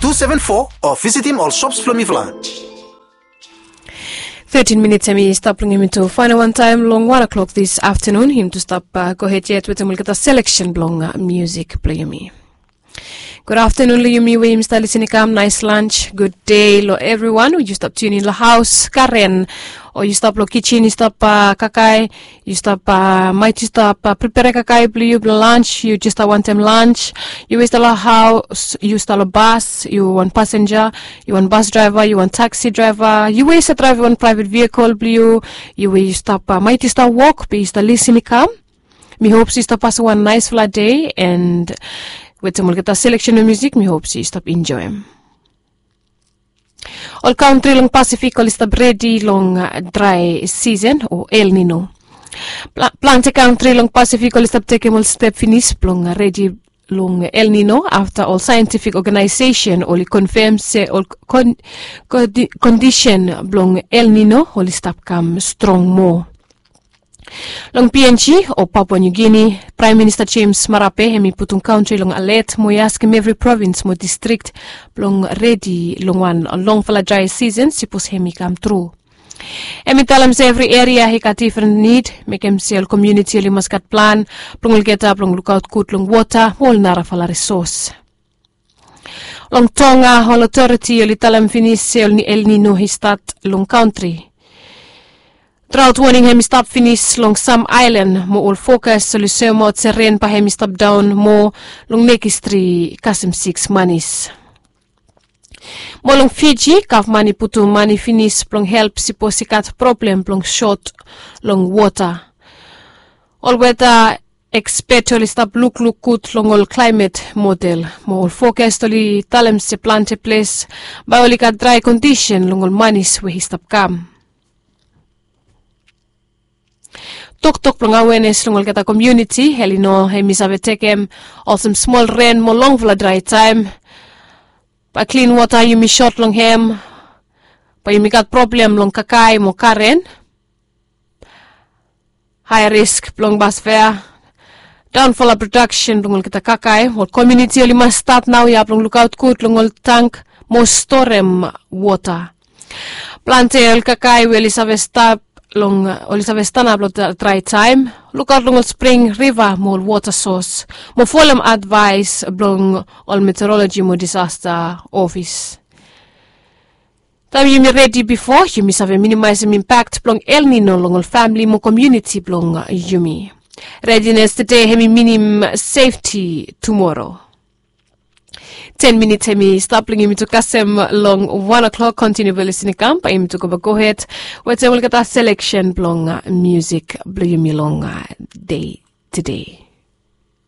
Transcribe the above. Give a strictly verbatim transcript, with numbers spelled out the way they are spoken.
two seven four o visitim ol shops blong mifala. Thirteen minits hemi stap long yumi tu fainal wan taim long wan o'clock this afternoon. Yumi tu stap gohed yet wetem olgeta selection blong musik blong yumi. Gud aftenun long yumi we yumi stap lisin i kam, nais lans, gud dei long evriwan we yu stap tunin long haus, karen, o yu stap long kijen yu stap kakai, yu stap maet yu stap pripere kakai blong yu blong lans, yu jes stap wantem lans, yu we yu stap long haus, yu stap long bas, yu wan pasenja, yu wan bas draeva, yu wan taksi draeva, yu we yu stap draev wan praevet vihikol blong yu, yu we yu stap maet yu stap wok be yu stap lisin i kam. Mi hop se yu stap pasem wan naesfala dei, and wetem olgeta seleksen blong musik mi hop se yu stap enjoem. Ol kantri long Pasifik oli stap redi long drae sisen o El Nino. Plante kantri long Pasifik oli stap tekem ol step finis blong redi long El Nino afta ol saentifik oganaesesen oli konfem se ol kondisen blong El Nino oli stap kam strong moa. Long PNG o Papua New Guinea, Praem Minista James Marape hemi putum kantri long alet mo i askem evri provins mo distrik blong redi long wan longfala drae sisen sipos hemi kam tru. Hemi talem se evri eria i gat difren nid, mekem se ol komuniti oli mas gat plan blong olgeta blong lukaot gud long wota mo ol narafala risos. Long Tonga ol otoriti oli talem finis se ol El Nino i stat long kantri. Draot woning hemi stap finis long sam aelan mo ol fokas oli soemaot se ren bae hemi stap daon moa long nekis tri kasem siks manis. Mo long Fiji gavman i putum mane finis blong help sipos i gat problem blong sot long wota. Ol weta ekspet oli stap lukluk gud long ol klaemet model mo ol fokas oli talem se plante ples bae oli gat drae kondisen long ol manis we i stap kam. Toktok blong awenes long olgeta komuniti, El Nino hemi save tekem olsem smol ren mo longfala drae taem. Bae klin wota yumi sot long hem, bae yumi gat problem long kakae mo karen, hae risk blong basfea, daonfala prodaksen blong olgeta kakae. Ol komuniti oli mas stat naoia blong lukaot gud long ol tang mo storem wota. Plante ol kakae we oli save stap long oli save stanap long drae taem. Lukaot long ol spring, riva mo ol wota sos mo folem advaes blong ol meteoroloji mo disasta ofis. Taem yumi redi bifo yumi save minimaesem impak blong El Nino long ol famili mo komuniti blong yumi. Redines tede hemi minim sefti tumoro. Ten minits hemi stap long yumi tu kasem long wan o'clock. Kontiniu blong lisin i kam bae yumi tu go bae gohed wetem olgeta seleksen blong musik blong yumi long dei tede.